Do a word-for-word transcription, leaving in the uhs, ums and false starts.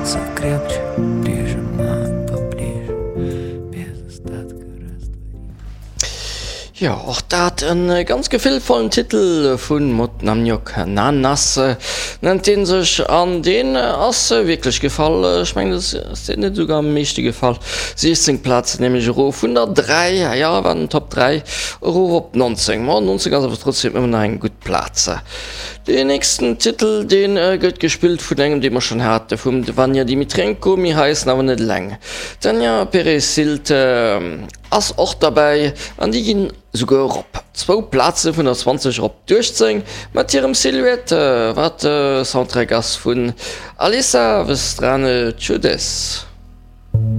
Пальцев крепче прижимаю поближе Без остатка растворить. Jo, och dat e ganz gefillvollen Titel vu Mot Namjok Nanas nennt dee sech an deen ass wierklech gefall. Ech mengen dat ass deen net esouguer am meeschte gefall. siechzéng Plazen nämlech erof vun der dräi, jo war den Top dräi, erof op nonzéng. Ma nonzéng ass awer trotzdem ëmmer nach eng gutt Plaz. Deen nächsten Titel dee gëtt gespillt vun engem dee mer schonn hate, vum Vanja Dimitrenko, mee hei ass en awer net eleng. D'Tanja Peresild ass och derbäi an déi ginn esouguer erop zwou Plaze vun der zwanzeg erop d'uechtzéng mat hirem Silhouette, wat de Soundtrack ass vun Alisa v Strane Čudes.